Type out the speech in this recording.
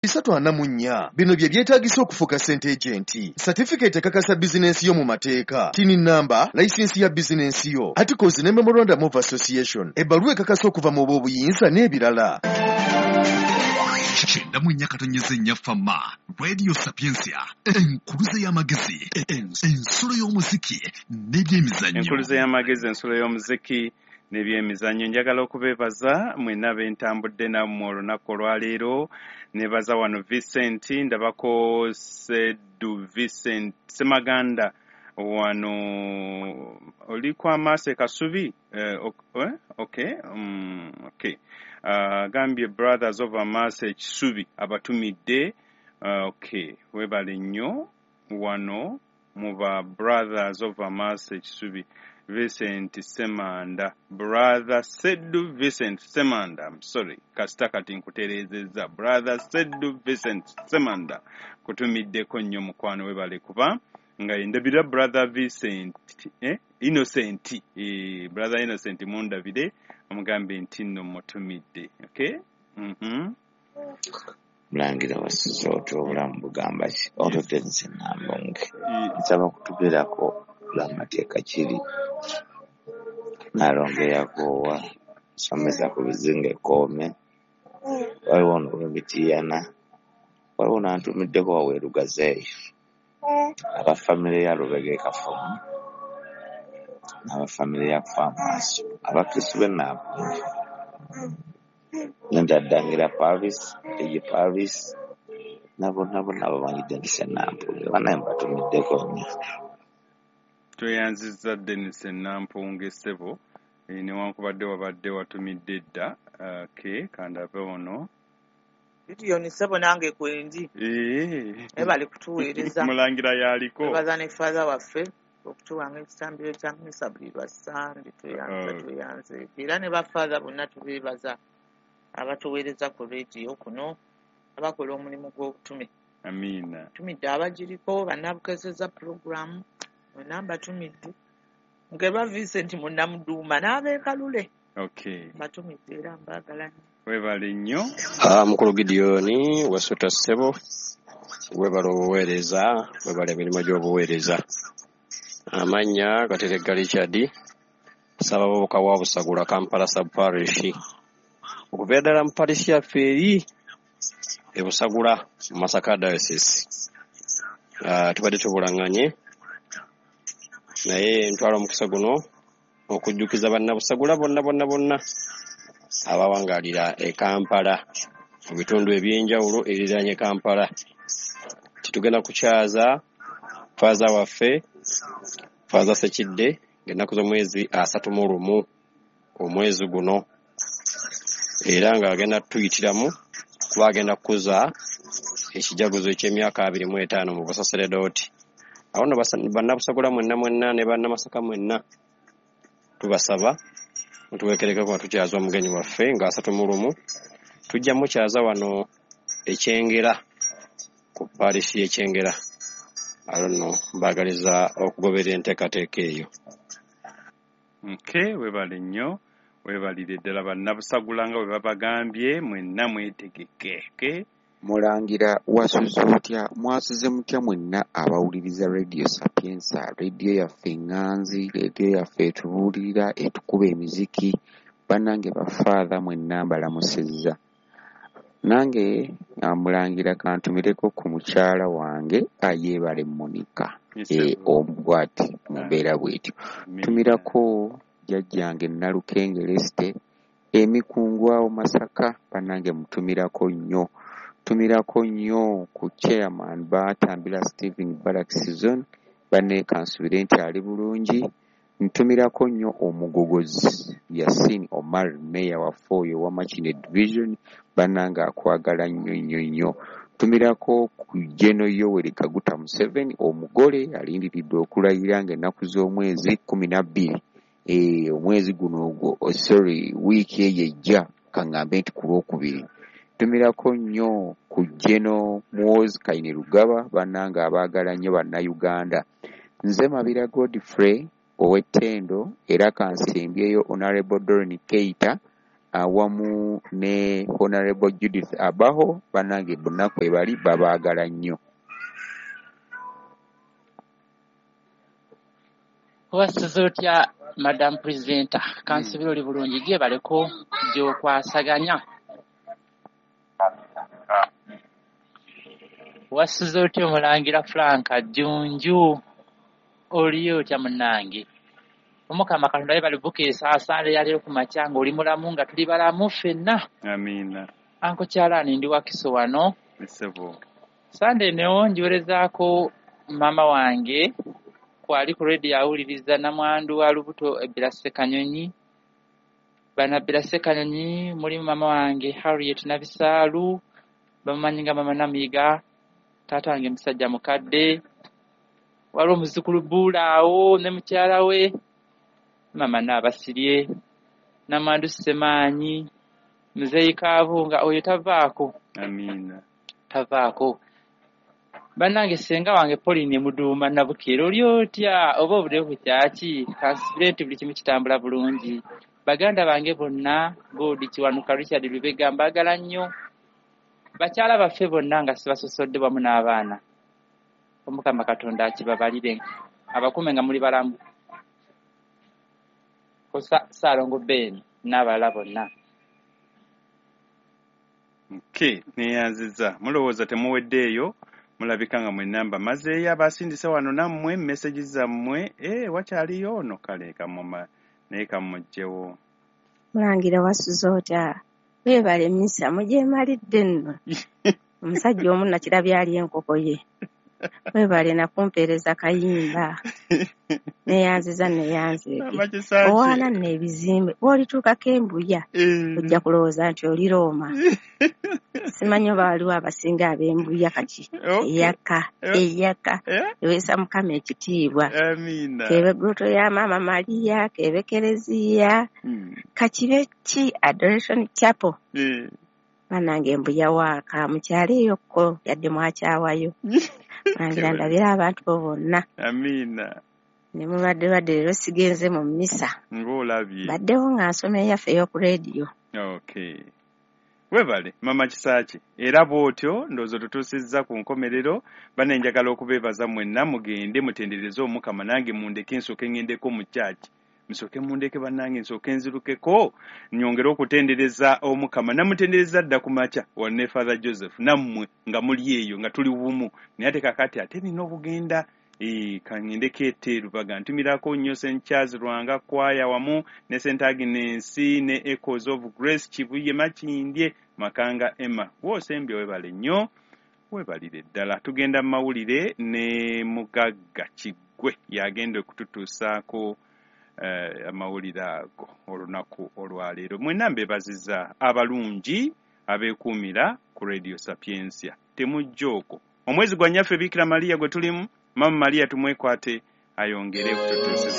344. Bino bye byetaagisa okufuuka ssente agent: certificate ekakasa bizinensi yo mu mateeka, TIN number, layisinsi ya bizinensi yo, articles ne memorandum of association, ebbaluwa ekakasa okuva mu b'obuyinza n'ebirala. 94.4 Fama Radio Sapientia, enkuluze y'amagezi, ensulo y'omuziki n'ebyemizannyo. Enkuluze y'amagezi, ensulo y'omuziki n'ebyemizannyo. Njagala okubeebaza mwenna bentambudde nammwe olunaku olwaleero. Nebaza wano Vincent, ndabako Seddu Vincent Semaganda wano oli kwa maaso e Kasubi, okay, okay. Agambye Brothers of Amaaso e Kisubi abatumidde. Okay, webale nnyo wano mu ba Brothers of Amaaso e Kisubi, Vincent Semanda, Brother Seddu Vincent Semanda. I'm sorry, kasita kati nkutereezezza. Brother Seddu Vincent Semanda, kutumiddeko nnyo mukwano, webale kuba nga ndabira Brother Vincent, Innocent, Brother Innocent mundabire omugambe nti nno mutumidde. Okay. Mulangira, wasuze otya? Obulamu bugamba ki? Otodde nze Nambonge. Nsaba kutubeerako lwamateeka kiri Nalongo eyakoowa nsomesa ku bizinga ekkoome. Waliwo ono ow'emitiyana, waliwo nantumiddeko waweerugaza eyo aba famire ya Lubega e Kafumu n'aba famire ya Kufaamaaso, abakristu b'e Nampunge, nentaddangira Paris eyi Paris nabo nabo nabo bamanyidde nti Nampunge banaye mbatumiddeko nnyo. Tweyanzizza Denis Nampunge ssebo, newankubadde wabadde watumidde dda. Okay, kandabe ono. Gideon ssebo, nange kwendi. Webale kutuweereza. Mulangira yaliko. Twebaza ne Father waffe okutuwanga ekitambiro kya mmisa buli lwa Ssande. Tweyanza, tweyanze era ne bafaather bonna tubeebaza abatuweereza ku rediyo kuno, abakola omulimu gw'obutume. Amiina. Tumidde abagiriko bannabukezeza puroguramu bonna mbatumidde, Ngerwa Vincent Munnamuduuma n'abeekalule. Mbatumidde era mbaagala nnyo. Webale nnyo. Mukulu Gideon Wasuta ssebo, webale obuweereza, webale emirimu gy'obuweereza. Amannya Kateregga Richard, Ssaabavubuka wa Busagula, Kampala Sub-Parish. Okuviira ddala mu parish yaffe eri e Busagula mu Masaka Diocese. Tubadde tubulanganye, naye ntwala omukisa guno okujjukiza bannabusagula bonna bonna bonna abawangaalira e Kampala mu bitundu eby'enjawulo ebiriraanye Kampala. Titugenda kukyaza faaza waffe, Faaza Sekidde, ng'ennaku z'omwezi 31 omwezi guno, era ng'agenda tutuyitiramu kuba agenda kukuza ekijaguzo eky'emyaka 25 mu busaseredooti. Awo nno bannabusagula mwenna mwenna ne bannamasaka mwenna tubasaba mutuweekerekeko nga tukyaza omugenyi waffe nga 31. Tujja mukyaza wano e Kyengera, ku parish y'e Kyengera. Awo nno mbaagaliza okugoberera enteekateeka eyo. Okay, webale nnyo, webalire ddala bannabusagula nga bwe babagambye mwenna mwetegeke. Okay? Mulangira, wasuze otya? Mwasuze mutya mwenna abawuliriza Radio Sapientia, rediyo yaffe eŋŋanzi, rediyo yaffe etubuulirira, etukuba emiziki. Bannange bafaather mwenna mbalamusizza. Nange Mulangira kantumireko ku mukyala wange Ayeebale Monica. Omu bw'ati mu mbeera bw'etyo. Tumirako jjajjange Nalukenge Leste emikungu awo Masaka, bannange mutumirako nnyo. Tumirako nnyo ku chairman Baatambira Stephen Barracks Zone, banne kansubire nti ali bulungi. Ntumirako nnyo omugogozi Yasin Omar, meya waffe oyo owa Makindye Division, bannange akwagala nnyo nnyo nnyo. Tumirako ku General Yoweri Kaguta Museveni, omugole alindiridde okulayira ng'ennaku z'omwezi 12. Omwezi guno ogwo, oh, sorry, wiiki eyo ejja, kaŋŋambe nti ku Lwokubiri. Tumirako nnyo ku General Muhoozi Kainerugaba, bannange abaagala nnyo Bannayuganda. Nze Mabira Godfrey ow'ettendo, era kansembyeyo Honorable Doreen Keita awamu ne Honorable Judith Abaho, bannange bonna kwe bali babaagala nnyo. Wasuze otya Madam Presenter, kansubira oli bulungi, gyebaleko gy'okwasaganya. Wasuze otya Omulangira Frank Jjunju, oliyo otya munnange? Omukama Katonda yebale bukeesa asaala eyaleero ku makya ng'oli mulamu nga tuli balamu ffenna. Amiina. Anko Kyalaani ndi Wakiso wano. Ssebo. Sande eno njiwerezaako maama wange kwali ku rediyo awuliriza namwandu wa Lubuto Ebbira Ssekanyonyi. Bana Bbira Ssekanyonyi mulimu maama wange Harriet Nabisaalu, bamumanyi nga Mama Namuyiga, taata wange musajja mukadde, waliwo omuzzukulu Bbuula awo ne mukyala we, Mama Naabasirye, namwandu Ssemaanyi, Muzeeyi Kaabunga oyo tavaako. Amiina. Tavaako. Bannange ssenga wange Pauline Muduuma Nabukeera oli otya oba obudde ku kyaki? Kansubire nti buli kimu kitambula bulungi. Baganda bange bonna, Godi Kiwanuka, Richard Lubega mbaagala nnyo. Bakyala baffe bonna nga sibasosodde wamu n'abaana. Omukama Katonda akibabalire, abakuume nga muli balamu. Kosa Ssaalongo Ben n'abalala bonna. Okay, neeyanzizza. Mulowooza temuweddeeyo, mulabika nga mwenna mbamazeeyo. Abasindise wano nammwe message zammwe, wakyaliyo ono kale kamuma naye kamuggyewo. Mulangira wasuze otya? Weebale mmisa mugyemalidde nno. Omusajja omu nakirabye alya enkoko ye. Weebale nakumpeereza kayimba. Neeyanziza neeyanzeege. Mama Kisaakye. Owaana nno ebizimbe bw'olituukako embuya ojja kulowooza nti oli Rooma. Simanyi oba waliwo abasinga ab'embuya kati. Eyaka, eyaka, eweesa Mukama ekitiibwa. Amiina. K'ebe grotto ya Maama Maria, k'ebe Kereziya, kakibe ki Adoration Chapel. Bannange embuya waaka mukyalo eyo kko yadde mwakyawayo. Mulangira ndabira abantu bo bonna. Amiina. Ne mubadde badde leero sigenze mu mmisa. Ng'olabye. Baddewo nga nsoma eyaffe ey'oku leediyo. Okay. Webale Mama Kisaakye, era bw'otyo ndowooza tutuusizza ku nkomerero. Banne njagala okubeebaza mwenna, mugende mutendereze Omukama, nange mundeke nsooke ŋŋendeko mu church. Nsooke mundeke bannange, nsooke nzirukeko nyongere okutendereza Omukama. Namutendereza dda ku makya wano ne Father Joseph, nammwe nga muli eyo nga tuli bumu, naye ate kakati ate nina okugenda kaŋŋendeko ete Lubaga. Ntumirako nnyo St Charles Lwanga Choir wamu ne St Agnes ne Echoes of Grace Kibuye Makindye Makanga Emma. W'osembye webale nnyo, webalire ddala. Tugenda mu mawulire ne Mugagga Kiggwe y'agenda okututuusaako amawulire ago olunaku olwaleero. Mwenna mbeebaziza abalungi abeekuumira ku Radio Sapientia. Temujja okwo. Omwezi gwa Nnyaffe Bikira Maria gwe tulimu, Mama Maria tumwekwate ayongere okututuusiza.